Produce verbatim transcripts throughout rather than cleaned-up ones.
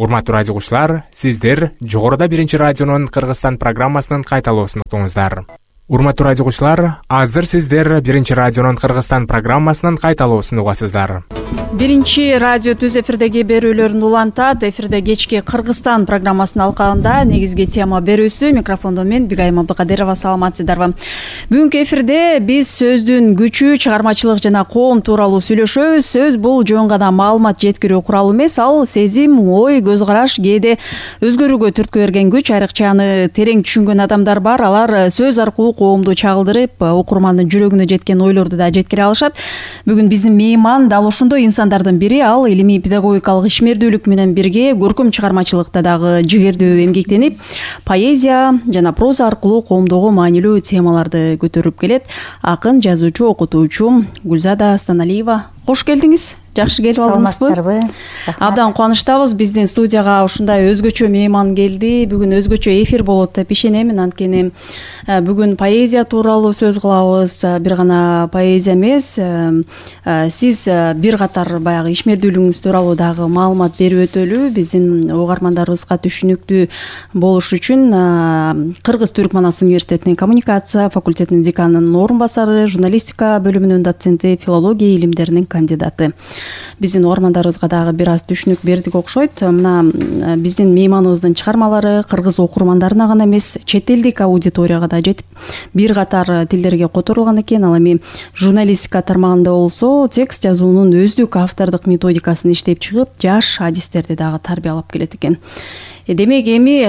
Урматтуу радио угуучулар, сиздер жогоруда биринчи радионун Кыргызстан программасынын кайталоосун уктуңуздар. Урматтуу радио угуучулар, азыр сиздер биринчи радионун Кыргызстан программасынын кайталоосун угасыздар. Биринчи радио түз эфирдеги берүүлөрүн улантат. Эфирде кечки Кыргызстан программасынын алкагында негизги тема берүүсү. Микрофондо мен Бигайым Абдыкадырова. Саламатсыздарбы? Бүгүнкү эфирде биз сөздүн күчү, чыгармачылык жана коом тууралуу сүйлөшөбүз. Сөз бул жөн гана маалымат жеткирүү куралы эмес, ал сезим, ой, көз караш, кээде өзгөрүүгө түрткү берген күч. Айрыкча аны терең түшүнгөн адамдар бар. Алар сөз аркылуу коомду чагылдырып, окурмандын жүрөгүнө жеткен ойлорду да жеткире алышат. Бүгүн биздин мейман дал ошондой инсандардын бири. Ал илимий педагогикалык ишмердүүлүк менен бирге көркөм чыгармачылыкта дагы жигердүү эмгектенип, поэзия жана проза аркылуу коомдогу маанилүү темаларды көтөрүп келет. Акын, жазуучу, окутуучу Гүлзада Станалиева. Кош келдиңиз. Жакшы келип алдыңызбы? Саламатсыздарбы? Абдан кубанычтабыз. Биздин студияга ушундай өзгөчө мейман келди. Бүгүн өзгөчө эфир болот деп ишенемин. Анткени бүгүн поэзия тууралуу сөз кылабыз. Бир гана поэзия эмес, сиз бир катар баягы ишмердүүлүгүңүз тууралуу дагы маалымат берип өтөлү. Биздин угармандарыбызга түшүнүктүү болуш үчүн Кыргыз Түрк Манас университетинин коммуникация факультетинин деканынын орун басары, журналистика бөлүмүнүн доценти, филология илимдеринин кандидаты. Биздин угармандарыбызга дагы бир аз түшүнүк бердик окшойт. Мына биздин мейманыбыздын чыгармалары кыргыз окурмандарына гана эмес, чет элдик аудиторияга да жетип, бир катар тилдерге которулган экен. Ал эми журналистика тармагында болсо, текст жазуунун өздүк автордук методикасын иштеп чыгып, жаш адистерди дагы тарбиялап келет экен. Демек эми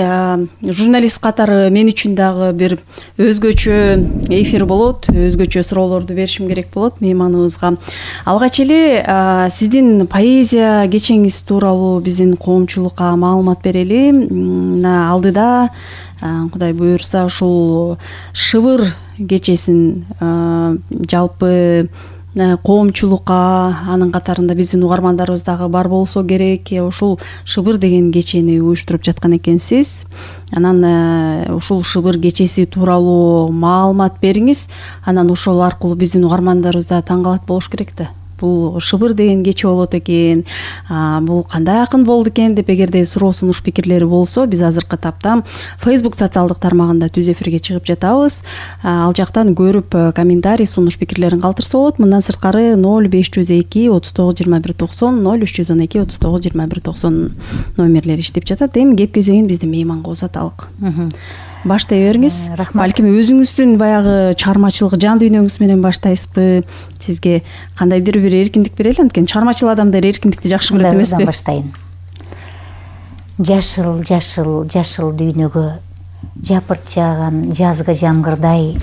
журналист катары мен үчүн дагы бир өзгөчө эфир болот, өзгөчө суроолорду беришим керек болот мейманыбызга. Алгач эле сиздин поэзия кечеңиз тууралуу биздин коомчулукка маалымат берели. Алдыда Кудай буйрса ушул Шыбыр кечесин жалпы коомчулукка, анын катарында биздин угармандарыбыз дагы бар болсо керек, ушул Шыбыр деген кечени уюштуруп жаткан экенсиз. Анан ушул Шыбыр кечеси тууралуу маалымат бериңиз. Анан ошол аркылуу биздин угармандарыбыз да таң калат болуш керек да. Бул Шыбыр деген кече болот экен, бул кандай акын болду экен деп эгерде суроо сунуш пикирлери болсо, биз азыркы тапта Facebook социалдык тармагында түз эфирге чыгып жатабыз. Ал жактан көрүп комментарий, сунуш пикирлерин калтырса болот. Мындан сырткары ноль беш жүз эки отуз тогуз жыйырма бир токсон, ноль үч жүз он эки отуз тогуз жыйырма бир токсон номерлери иштеп жатат. Эми кеп кезегин биздин мейманга узаталык. Баштай бериңиз. Балким өзүңүздүн баягы чыгармачылык жан дүйнөңүз менен баштайсызбы? Сизге кандайдыр бир эркиндик берели, анткени чыгармачыл адамдар эркиндикти жакшы көрөт эмеспи? Баштайын. Жашыл, жашыл, жашыл дүйнөгө жапырт жааган жазгы жамгырдай,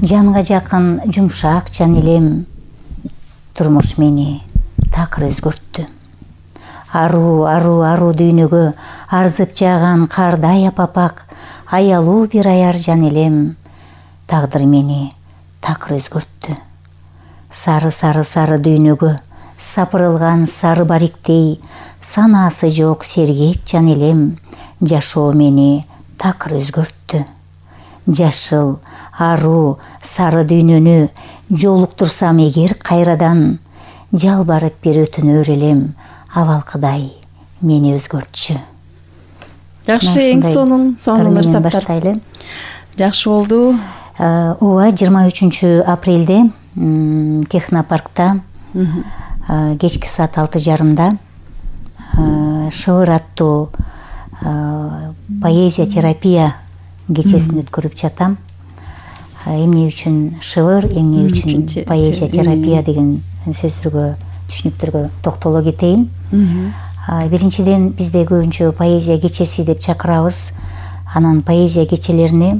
жанга жакын жумшак жан элем, турмуш мени такыр өзгөрттү. Аруу, аруу, аруу дүйнөгө арзып жааган кардай апапак, аялуу бир аяр жан элем, тагдыр мени такыр өзгөрттү. Сары, сары, сары дүйнөгө сапырылган сары бариктей, санаасы жок сергек жан элем, жашоо мени такыр өзгөрттү. Жашыл, аруу, сары дүйнөнү жолуктурсам эгер кайрадан, жалбарып бир өтүнөр элем, абалкыдай мени өзгөртчү. Жакшы, эң сонун, сонун ырсаптар. Жакшы болду. Ооба, жыйырма үчүнчү апрелде Технопаркта кечки саат алты жарымда Шыбыр аттуу поэзия терапия кечесин өткөрүп жатам. Эмне үчүн Шыбыр, эмне үчүн поэзия терапия деген сөздөргө, түшүнүктөргө токтоло кетейин. Биринчиден, бизде көбүнчө поэзия кечеси деп чакырабыз. Анан поэзия кечелерине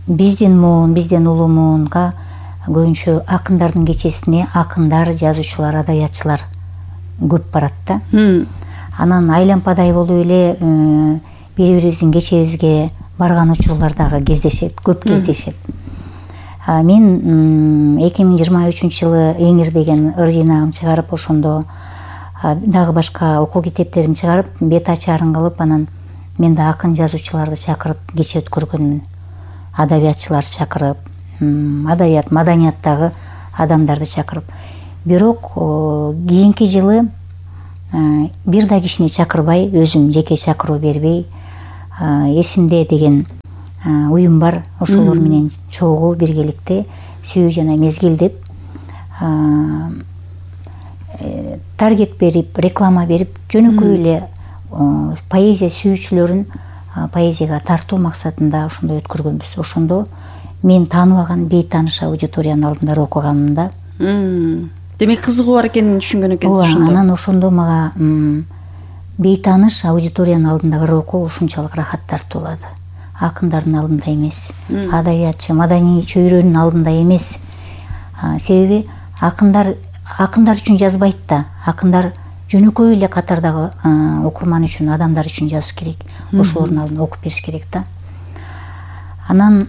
биздин муун, биздин улумуунга көбүнчө акындардын кечесине акындар, жазуучулар, адабиятчылар көп барат да. Анан айлампадай болуп эле бири-бирибиздин кечебизге барган учурлар дагы кездешет, көп кездешет. Мен эки миң жыйырма үчүнчү жылы Эңир деген ыр жыйнагым чыгарып, ошондо дагы башка окуу китептерин чыгарып, бет ачарын кылып, анан мен да акын жазуучуларды чакырып кече өткөргөнмүн. Адабиятчылар чакырып, адабият, маданияттагы адамдарды чакырып. Бирок кийинки жылы бир да кишини чакырбай, өзүм жеке чакыруу бербей, эсимде деген уюм бар. Ошолор менен чогуу биргеликте сүйүү жана мезгил деп таргет берип, реклама берип, жөнөкөй эле поэзия сүйүүчүлөрүн поэзияга тартуу максатында ошондой өткөргөнбүз. Ошондо мен тааныбаган бейтааныш аудиториянын алдында окуганымда демек кызыгуу бар экенин түшүнгөн экенсиз. Ооба, анан ошондо мага бейтааныш аудиториянын алдында окуу ушунчалык рахат тартуулады. Акындардын алдында эмес, адабиятчы, маданий чөйрөнүн алдында эмес. Себеби акындар акындар үчүн жазбайт да, акындар жөнөкөй эле катардагы окурман үчүн, адамдар үчүн жазыш керек. Ошолордун алдында окуп бериш керек да. Анан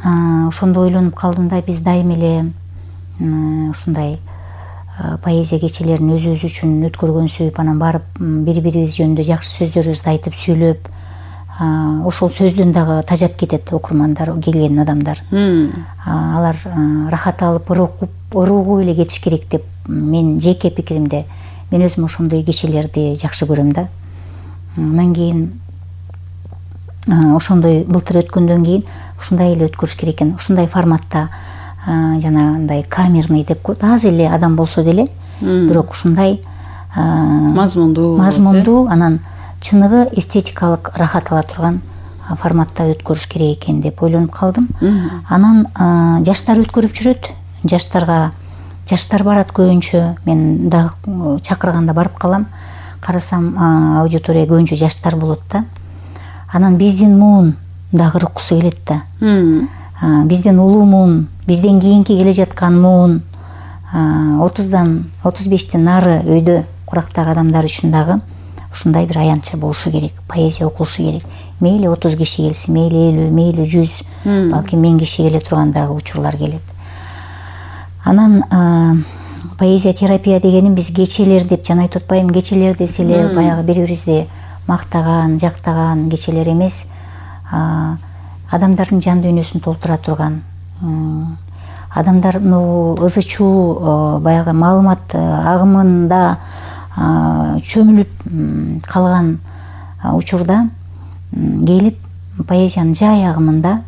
ошондо ойлонуп калдым да, биз дайыма эле ушундай поэзия кечелерин өзүбүз үчүн өткөргөнсүп, анан барып бири-бирибиз жөнүндө жакшы сөздөрүбүздү айтып сүйлөп, ошол сөздөн дагы тажап кетет окурмандар, келген адамдар. Алар рахат алып, ыргуу эле кетиш керек деп мен жеке пикиримде, мен өзүм ошондой кечелерди жакшы көрөм да. Андан кийин ошондой былтыр өткөндөн кийин ушундай эле өткөрүш керек экен. Ушундай форматта жанагындай камерный деп коет, аз эле адам болсо деле, бирок ушундай мазмундуу мазмундуу анан чыныгы эстетикалык рахат ала турган форматта өткөрүш керек экен деп ойлонуп калдым. Анан жаштар өткөрүп жүрөт. Жаштарга жаштар барат көбүнчө. Мен дагы чакырганда барып калам. Карасам аудитория көбүнчө жаштар болот да. Анан биздин муун дагы ырыккысы келет да. Бизден улуу муун, бизден кийинки келе жаткан муун, отуздан отуз бештен нары өйдө курактагы адамдар үчүн дагы ушундай бир аянтча болушу керек, поэзия окулушу керек. Мейли отуз киши келсе, мейли элүү, мейли жүз, балки миң киши келе турган дагы учурлар келет. Анан поэзия терапия дегенин биз кечелер деп жана айтып атпайбы, кечелер десе эле баягы бири-бирибизди мактаган, жактаган кечелер эмес, адамдардын жан дүйнөсүн толтура турган, адамдар ызы чуу баягы маалымат агымында чөмүлүп калган учурда келип поэзиянын жай агымында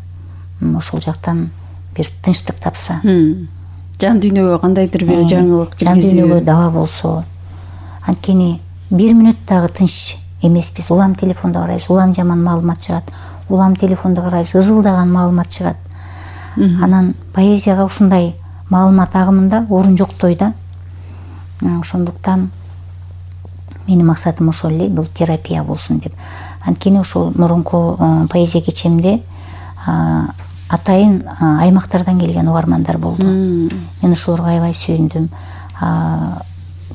ошол жактан бир тынчтык тапса, жан дүйнөгө кандайдыр бир жаңылык, жан дүйнөгө даба болсо, анткени бир мүнөт дагы тынч эмеспиз. Улам телефонду карайбыз, улам жаман маалымат чыгат, улам телефонду карайбыз, ызылдаган маалымат чыгат. Анан поэзияга ушундай маалымат агымында орун жоктой да. Ошондуктан менин максатым ошол эле, бул терапия болсун деп. Анткени ошол мурунку поэзия кечемде атайын аймактардан келген угармандар болду. Мен ошолорго аябай сүйүндүм.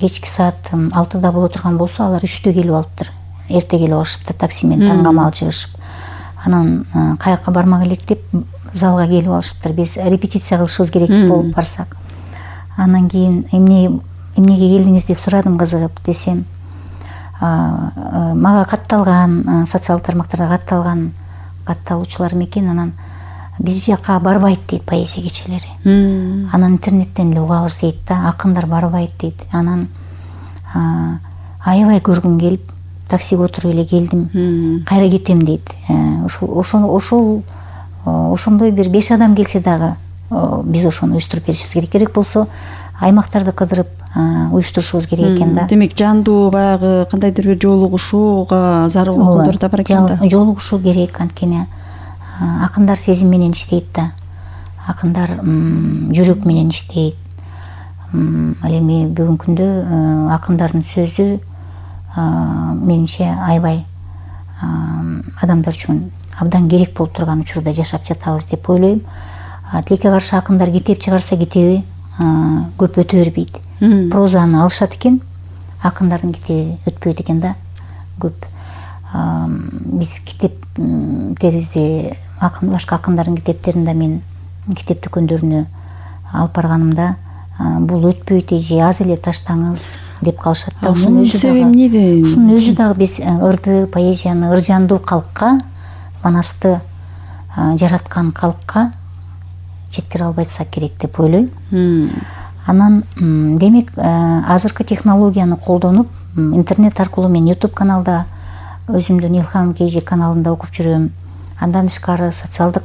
Кечки саат алтыда боло турган болсо, алар үчтө келип алыптыр. Эрте келип алышыптыр, такси менен таңгамал чыгышып. Анан каяка бармак элек деп залга келип алышыптыр. Биз репетиция кылышыбыз керек болуп барсак. Анан кийин эмне эмнеге келдиңиз деп сурадым кызыгып. Десем, мага катталган, социалдык тармактарда катталган катталуучулар экен. Анан биз жака барбайт дейт поэзия кечелери. Анан интернеттен эле угабыз дейт да, акындар барбайт дейт. Анан аябай көргүм келип, таксиге отуруп эле келдим, кайра кетем дейт. Ошол ошол ошондой бир беш адам келсе дагы биз ошону уюштуруп беришибиз керек. Керек болсо аймактарды кыдырып уюштурушубуз керек экен да. Демек жандуу баягы кандайдыр бир жолугушууга зарыл окуулар да бар экен да. Жолугушуу керек, анткени акындар сезим менен иштейт да. Акындар жүрөк менен иштейт. Ал эми бүгүнкү күндө акындардын сөзү менимче аябай адамдар үчүн абдан керек болуп турган учурда жашап жатабыз деп ойлойм. Тилекке каршы акындар китеп чыгарса, китеби көп өтө бербейт. Прозаны алышат экен, акындардын китеби өтпөйт экен да көп. Биз китептерибизди, башка акындардын китептерин да мен китеп дүкөндөрүнө алып барганымда, бул өтпөйт эже, аз эле таштаңыз деп калышат да. Ушунун өзү дагы эмнеде? Ушунун өзү дагы биз ырды, поэзияны, ыржандуу калкка, манасты жараткан калкка жеткире албайсак керек деп ойлойм. Анан демек азыркы технологияны колдонуп, интернет аркылуу мен YouTube каналда өзүмдүн Илхам Кейжи каналында окуп жүрөм. Андан тышкары социалдык